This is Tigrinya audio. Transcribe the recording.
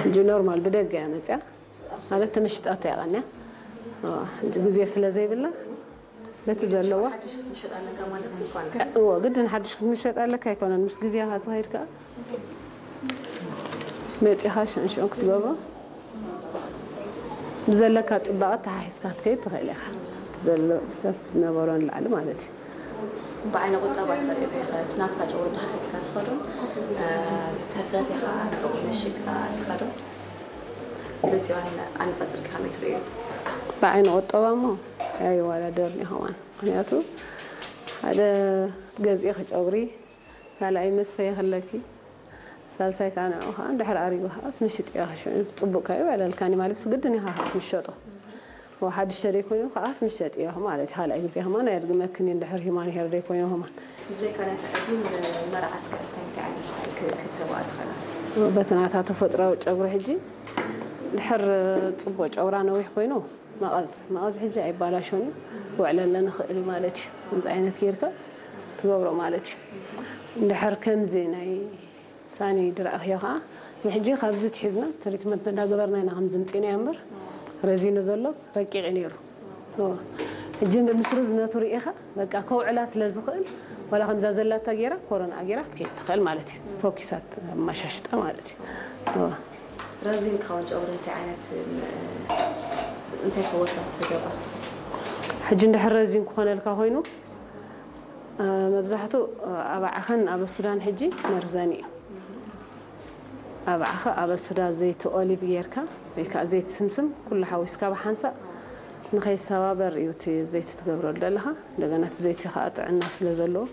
ሕጂ ኖርማል ብደገ እያ መፅያ ማለት ተመሽጣቶ እያ ቀንያ። እዋ፣ ሕጂ ግዜ ስለ ዘይብላ በቲ ዘለዋ ሓድሽ ክትምሸጥ ኣለካ ማለት እዩ። እዎ፣ ግድን ሓድሽ ክትምሸጥ ኣለካ ኣይኮነን፣ ምስ ግዜኻ ዝኸይድ ከዓ መፂኻ ሽዑን ሽዑን ክትገብሮ ብዘለካ ፅባቐ ተሓሒዝካ ክትከይድ ትኽእል ኢኻ። እቲ ዘሎ እስከፍቲ ዝነበሮ ንላዕሊ ማለት እዩ። ብዓይነ ቁጠባ ተሪኢኻ ኢኻ እቲ ናትካ ጨጉሪ ተሓሒዝካ ትኸዶን ተሰፊኻ ንዕኡ መሽጥካ ትኸዶን ክልቲኦን ኣነፃፅርካ ከመይ ትርእዩ? ብዓይኒ ቁጠባ እሞ ኣይወዳደርን እዩ ከማን። ምክንያቱ ሓደ ገዚእኺ ጨጉሪ ካልኣይ መስፈይ ከለኪ ሳልሳይ ከዓ ንዕኡ ከዓ እንድሕር ኣሪጉ ከዓ ትምሽጥዮ ሽዑ ፅቡቅ ከዩ ዕለልካኒ ማለት ግድን ኢኻ ክትምሸጦ። ሓድሽ ተደይኮይኑ ከዓ ክትምሸጥዮ ማለት ካልኣይ ግዜ ከማን ኣየድግመክን እዩ እንድሕር ሂማን ሄር ደይኮይኑ ከማን። ብዘይካ ነቲ ዕዱም መርዓትካ እንታይ እንታይ ዓይነት ስታይል ክትህባ ትኽእላ? በቲ ናታ ተፈጥራዊ ጨጉሪ ሕጂ ድሕር ፅቡቅ ጨጉራ ነዊሕ ኮይኑ መቐዝ መቐዝ ሕጂ ኣይባላሾን እዩ ክውዕለለ ንኽእል እዩ ማለት እዩ። ከምዚ ዓይነት ጌርካ ትገብሮ ማለት እዩ። እንድሕር ከምዚ ናይ ሳኒ ድረኣኽዮ ከዓ እዚ ሕጂ ካብዚ ትሒዝና ትሪትመንት እንዳገበርና ኢና ከምዚ ምፂና እምበር ረዚኑ ዘሎ ረቂቕ እዩ ነይሩ። እወ። ሕጂ ምስ ርዝነቱ ርኢኻ በቃ ከውዕላ ስለ ዝኽእል ዋላ ከምዛ ዘላታ ጌራ ኮሮና ጌራ ክትከይድ ትኽእል ማለት እዩ። ፎኪሳት ኣመሻሽጣ ማለት እዩ። እወ። ረዚን ክኸውን ጨጉሪ እንታይ ዓይነት እንታይ ፈወሳት ትገብራ ንስኻ? ሕጂ እንድሕር ረዚን ክኾነልካ ኮይኑ መብዛሕትኡ ኣብ ዓኸን ኣብ ሱዳን ሕጂ መርዘን እዩ። ኣብ ዓኸ ኣብ ሱዳ ዘይቲ ኦሊቭ ጌርካ ወይ ከዓ ዘይቲ ስምስም ኩሉ ሓዊስካ ብሓንሳእ ንኸይሰባበር እዩ እቲ ዘይቲ ትገብረሉ ዘለኻ። እንደገና እቲ ዘይቲ ከዓ ጥዕና ስለ ዘለዎ